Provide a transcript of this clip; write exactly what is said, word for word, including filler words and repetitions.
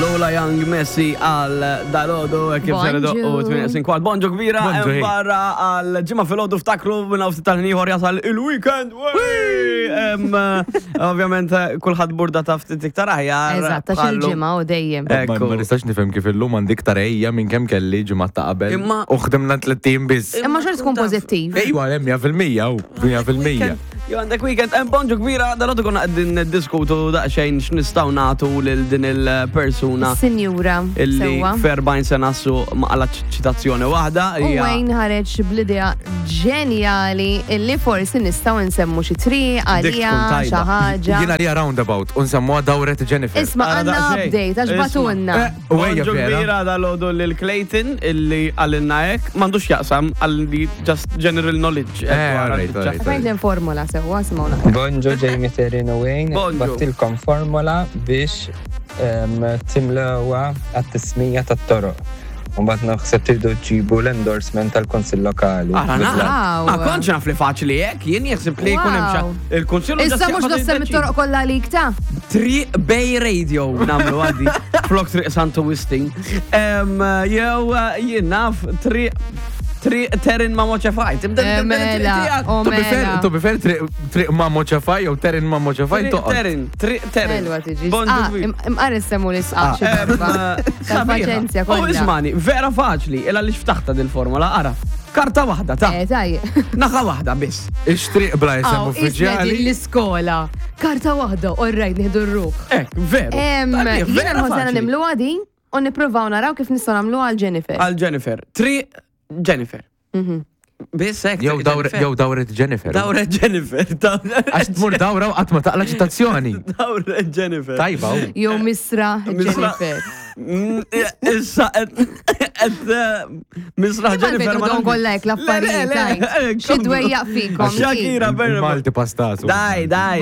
Lola Young Messi għal dalgħodu, kif ser Bonġu. u tmien kwart. Bonġu kbira, Bonġu, hemm hey. barra għal ġimgħa filgħodu, ftakru minn hawn ftit tal-ieħor jasal il-weekend. Wey! Em, eh, Ovvjament eh, kulħadd burda ta' ftit iktar aħjar. Eżatt, għax bħallu. il-ġimgħa u dejjem. Ma Ekku. ma nistax nifhem kif illum għandi iktar ejja minn kemm kelli ġimgħa ta' qabel. Imma- U ħdimna tlett ijiem biss. Imma xorta tkun pożittiv. Ejwa, mija fil-mija, u mija fil-mija. Jo, għandek weekend, hemm bonġu kbira, dalgħodu konna qegħdin diskutu daqsxejn x'nistgħu nagħtu lil din il-persuna Sinjura, illi sewwa. f'erbgħin sena su ma qalat ċitazzjoni waħda. U hija- Wayne ħareġ bl-idea ġenjali illi forsi nistgħu nsemmu xi triq Dik għalija tkun xi tajba. ħaġa. Jiena li roundabout, unsemmuha Dawret Jennifer. Isma' Ara għandna daqsxejn. update għax Isma'. bagħtulna. Eh, U ejja Bonġu vera. kbira dalgħodu lil Clayton illi għalinna hekk, m'għandux jaqsam għalli just general knowledge. Eh, alright, alright. Fajn l-formula sewwa, simgħuna. Bonġu Jamie, Terin u Wayne, Bonġu. bgħattilkom formola biex em, timlewha għat-tismija tat-toroq. Mbagħad naħseb tridu ġibu l-endorsement tal-Kunsill Lokali. Ara, Good luck. Wow. Ma kontx naf li faċli hekk, jien jaħseb li jkun hemm Wow. xa- il-kunsill Issa mhux dossem it-toroq kollha għalik ta' Triq Bay Radio nagħmlu għaddi flok Triq Santo Wistin. Em, Jew eh, jien naf Triq Triq Terin ma Moċefaj. Tibda Eh, tibda mela, tiegħek. o To be fair, mela. to be fair, triq triq ma moċafaj, jew Terin ma moċafaj, Triq toqgħod. Terin, Triq Terin. Elwa tiġi. Bonġu Ah, kbir. im- Imqar issemmu l-isqaq xi Em, darba. eh, Tal-paċenzja U kollha. ismani, vera faċli, illa li ftaħta dil-formula, ara. Karta waħda, ta' Eh, taj. naħa waħda biss. Ix-triq bla isem Aw, isna din uffiċjali. l-iskola. Karta waħda, orrajt, nieħdu r-ruħ. Ek, veru. Em, Tajjeb, Jiena vera nħossana faċli. nimluha din u nippruvaw naraw kif nistgħu nagħmluha għal Jennifer. Għal Jennifer. Triq Jennifer. Mhm. Biss hekk. Jew Triq dawret Jennifer. jew Dawret Jennifer. Dawret Jennifer. Għax tmur dawra u qatt ma taqla ċitazzjoni. Dawret Jennifer. Tajba, u. Jew Misra Misra- Jennifer. Mm, Issa qed qed eh, Misra Imma Jennifer. ma l-fejn nafx. kollha hekk Le, le, l-affarijiet. le, tajt. Xi dwejjaq fikom. Shakira Berra. Malti pastazu. Daj, daj.